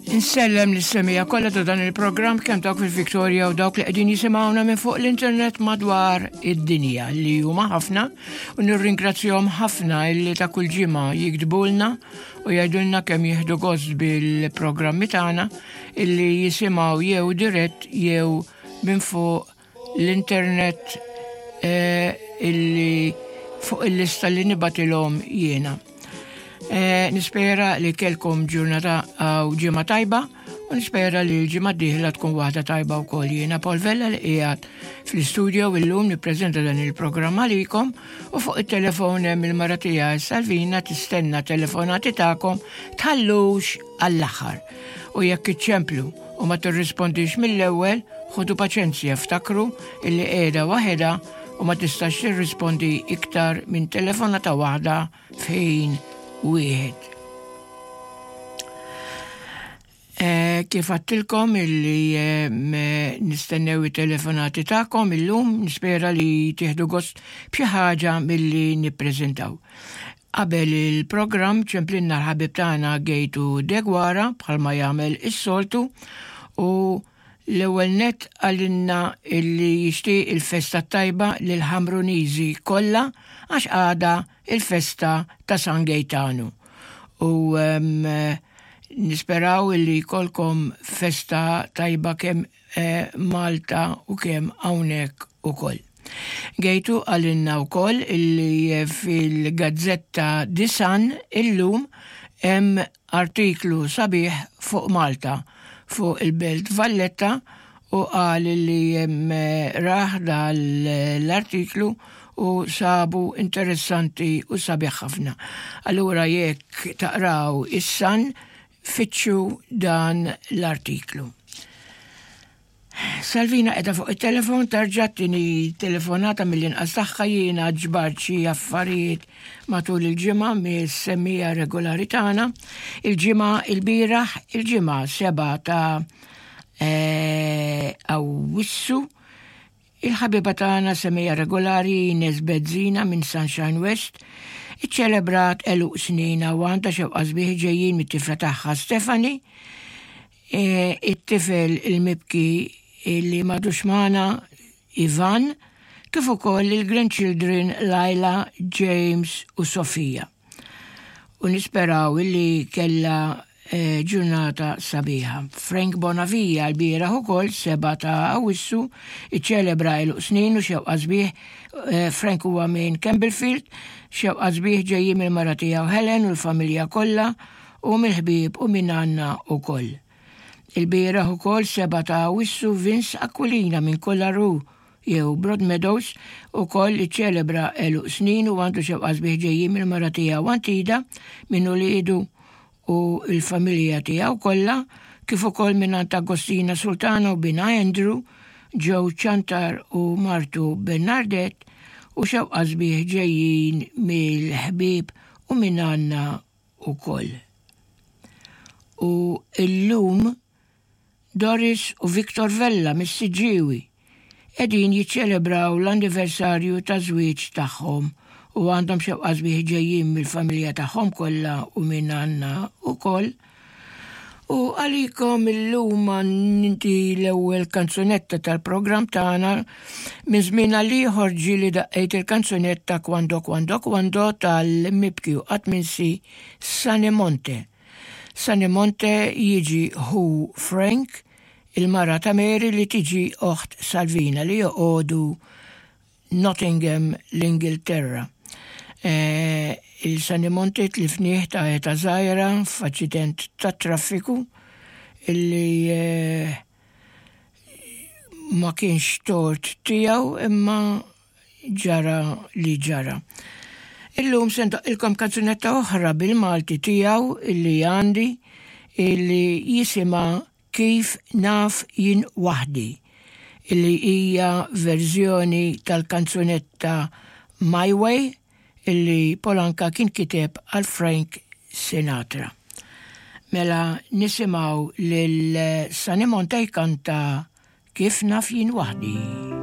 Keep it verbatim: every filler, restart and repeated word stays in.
Insellem lis-semmiegħa kollha ta' dan il-programm, kemm dawk fil-Victoria u dawk li qegħdin jisimgħuna minn fuq l-internet madwar id-dinja, li huma ħafna, u nirringrazzjahom ħafna illi ta' kull ġimgħa jiktbulna u jgħidulna kemm jieħdu gost bil-programmi tagħna illi jisimgħu jew dirett jew minn fuq l-internet eh, illi fuq il-lista li nibgħatilhom jiena. Eh, nispera li kelkom ġurnata u ġimgħa tajba u nispera li l-ġimgħa d-dieħla tkun waħda tajba wkoll. Jiena Paul Vella li qiegħed fl-istudio illum nippreżenta dan il-programm għalikom u fuq it-telefon hemm il-mara tiegħi Salvina tistenna telefonati tagħkom, tħallux għall-aħħar. U jekk iċċemplu u ma tirrispondix mill-ewwel, ħudu paċenzja, ftakru illi qiegħda waħedha u ma tistax tirrispondi iktar minn telefonata waħda f'ħin wieħed. E, kif għedtilkom illi e, nistennew it-telefonati tagħkom illum, nispera li tieħdu gost b'xi ħaġa milli nippreżentaw. Qabel il-programm ċemplinna l-ħabib tagħna Gejtu Degwara bħalma jagħmel is-soltu u l-ewwel net qalilna illi jixtieq il-festa tajba lil Ħamruniżi kollha għax għada il-festa ta' San Gejtanu. U um, nisperaw illi jkollkom festa tajba kemm eh, Malta u kemm hawnhekk ukoll. Gejtu qalilna wkoll illi fil-gazzetta The Sun illum hemm artiklu sabiħ fuq Malta, fuq il-Belt Valletta, u qal li rah l-artiklu u sabu interessanti u sabiħ ħafna. Allura jekk taqraw is-Sun, fittxu dan l-artiklu. Salvina qiegħda fuq il-telefon, terġa' tini telefonata mill-inqas tagħha. Jiena ġbart xi affarijiet matul il-ġimgħa mis-semmiegħa regolari tagħna. Il-ġimgħa il-bieraħ, il-ġimgħa seba ta' eh, Awwissu, il-ħabiba tagħna semmiegħa regolari Ines Bezzina minn Sunshine West iċċelebrat għeluq snin u għandha xewqa sbieħ ġejjin mit-tifla tagħha Stephanie, e, it-tifel il-mibki li m'għadux magħna Ivan, kif ukoll il-grandchildren Laila, James u Sofia. U nisperaw illi kella eh, ġurnata sabiħa. Frank Bonavia l-bieraħ ukoll seba ta' Awwissu iċċelebra għeluq snin u xewqa sbieħ. eh, Frank huwa minn Campbellfield, xewqa sbieħ ġejjin mill-mara tiegħu Helen u l-familja kollha u mill-ħbieb u minn għandna ukoll. Il-bieraħ ukoll seba ta' Awwissu Vince Aquilina minn Kollaru jew Broadmeadows ukoll iċċelebra għeluq snin u għandu xewqa sbieħ ġejjin mill-mara tiegħu Antida, minn uliedu u l-familja tiegħu kollha, kif ukoll minn Agostina Sultana u binha Andrew, Joe Chantar u martu Bernadette, u xewqa sbieħ ġejjin mill-ħbieb u minn għandna ukoll. U illum Doris u Victor Vella mis-Siġġiewi qegħdin jiċċelebraw l-anniversarju ta' żwieġ tagħhom u għandhom xewqa sbieħ ġejjin mill-familja tagħhom kollha u minn għandna ukoll. U għalikom illum għandi l-ewwel kanzunetta tal-programm tagħna. Minn żmien għal ieħor ġieli daqqejt il-kanzunetta Quando Quando Quando tal-mibki u qatt minsi Sunny Monte. Sunny Monte jiġi ħu Frank, il-mara ta' Mary li tiġi oħt Salvina, li joqogħdu Nottingham, l-Ingilterra. E, Il-Sunny Monte tlifnieh ta' età żgħira f'aċċident ta' traffiku illi e, ma kienx tort tiegħu imma ġara li ġara. Illum se ilkom kanzunetta oħra bil-Malti tiegħu illi għandi, illi jisimha Kif Naf Jien Waħdi, illi hija verżjoni tal-kanzunetta My Way illi Paul Anka kien kiteb għal Frank Sinatra. Mela nisimgħu lil Sunny Monte jkanta Kif Naf Jien Waħdi.